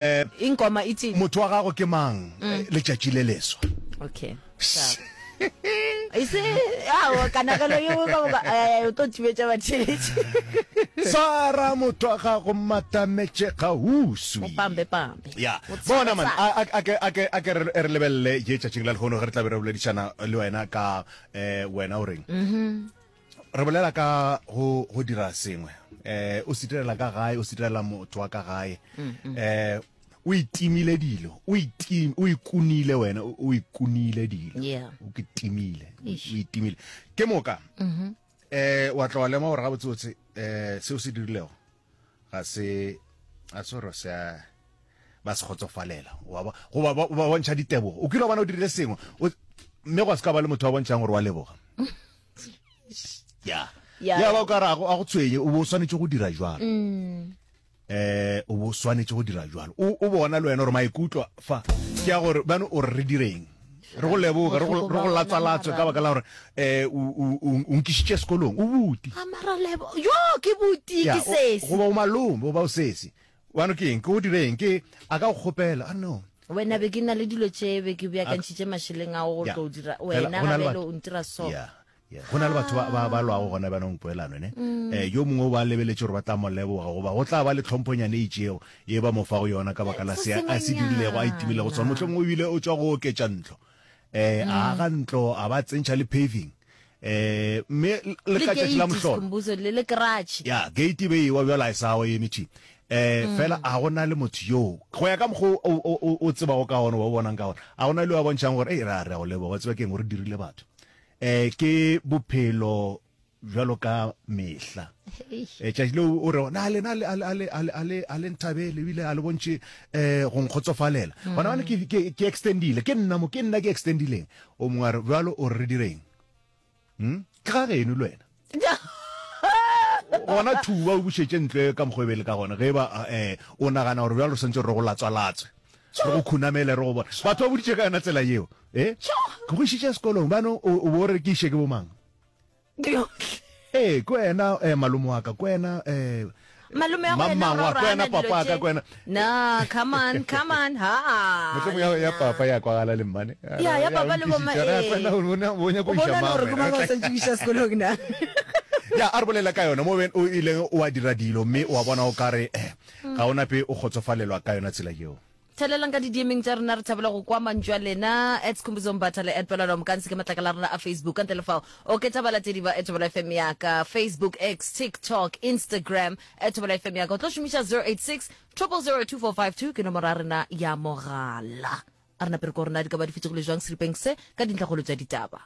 Eh, Ingoma ithini? Motho wa gago ke mang? Mm. Letšatši le leswa. Okay. Ise awo kanagelo yeo ka moka eh, o tlo thibetša batheletši. Swara motho wa gago matametše kgauswi. Pambe pambe. Ya. Bona man, a a ke a ke a ke re lebelele ye tšatšing la lehono ge re tla be re boledišana le wena ka eh wena o reng? Mhm. Re bolela ka go go dira sengwe eh o se direla ka gae o se direla motho wa ka gae mm, mm. eh o itimile dilo o itim o ikunile wena o ikunile dilo yeah. o ke timile o itimile ke moka mm -hmm. eh wa tla wa lema gore gabotsebotse eh seo se dirilego ga se a se gore se a ba se kgotsofalela wa goba ba bontšha ditebogo o kile wa bona o dirile sengwe mme gwa se ka ba le motho wa bontšhang gore wa leboga ya ya ba o ka re a go tshwenye o bo o swanetše go dira jwalo mm. eh o bo swanetše go dira jwalo o o bona le wena gore maikutlo fa ke ya gore bano o re re direng re go leboge re go re go latswalatswe ka baka la gore eh o o nkišitše sekolong o buti mara lebo yo ke buti ke sesi goba o malome goba o sesi bano ke eng ke o direng ke a ka go kgopela a no wena be ke na le dilo tše be ke beakantšhitše mašeleng ao go tlo dira wena ga bjale o ntira so yeah Yeah. Go na le batho ba, ba, ba lwago gona bjanong poelano ne mm. eh, yo mongwe o ba lebeletše gore ba tla mo leboga goba go tla ba le tlhomphonyane e itšego ye ba mo fago yona ka baka la se a se dirilego a itimilego sona mohlomongwe o bile o tšwa go oketša ntlo eh, a mm. aga ntlo a ba tsentšha le paving eh mme le ka tšatši la mohlolo le le garage ya gate be ewa bjalo a e sa wa eme tši eh mm. fela a gona le motho yo go ya ka mokgo o tsebago ka gona wa o bonang ka gona a gona le wa bontšhang gore ei ra re go leboga tseba ke eng gore dirile batho eh ke bophelo bjalo ka mehla eh tšatši leo o re na le na le a le a le a le a le nthabele ebile a le bontšhe eh go nkgotsofalela mm. gona bane ke ke ke extendile ke nna mo ke nna ke extendileng o mongwe a re bjalo o re re direng hm ke ga geno le wena gona thuba o bušetše ntle ka mokgwa e be le ka gona ge ba eh o nagana gore bjalo re santse re go latswa-latswe re go khunamele re go bona batho ba boditše ka yona tsela yeo eh ke go išitše sekolong bano o bo re ke iše ke bomang Ee, ke wena eh, malome wa ka, ke wena eh, Malome wa wena, mamang wa, ke wena dilo papa wa ka, tše. ke wena. No, come on, come on. Ha. Mohlomong ya, ya papa ya kwagala le mmane. Ya, ya papa le bomma, Re ee. kwena o bona o nyaka O go iša bona mang gore ke wena? mang o sa ntšokiša sekolong na? Ya, a re bolela ka yona mo ben o ileng wa dira dilo mme wa bona o ka re eh, ga o nape o kgotsofalelwa ka yona tsela yeo. Thelelang ka di-DMing tša rena, re thabela go kwa mantšu a lena. At Skhumbuzo Mbatha le at Pelwana Mokansi ke matlakala a rena a Facebook. Ka ntle le fao, oketša balatedi ba at Thobela FM ya ka Facebook, X, TikTok, Instagram, at Thobela FM ya ka. O tlo šomiša 086 000 2452 ke nomoro ya rena ya mogala. A re nape re ko rena di ka ba di fetogile jwang seripeng se ka dintlhakgolo tša ditaba.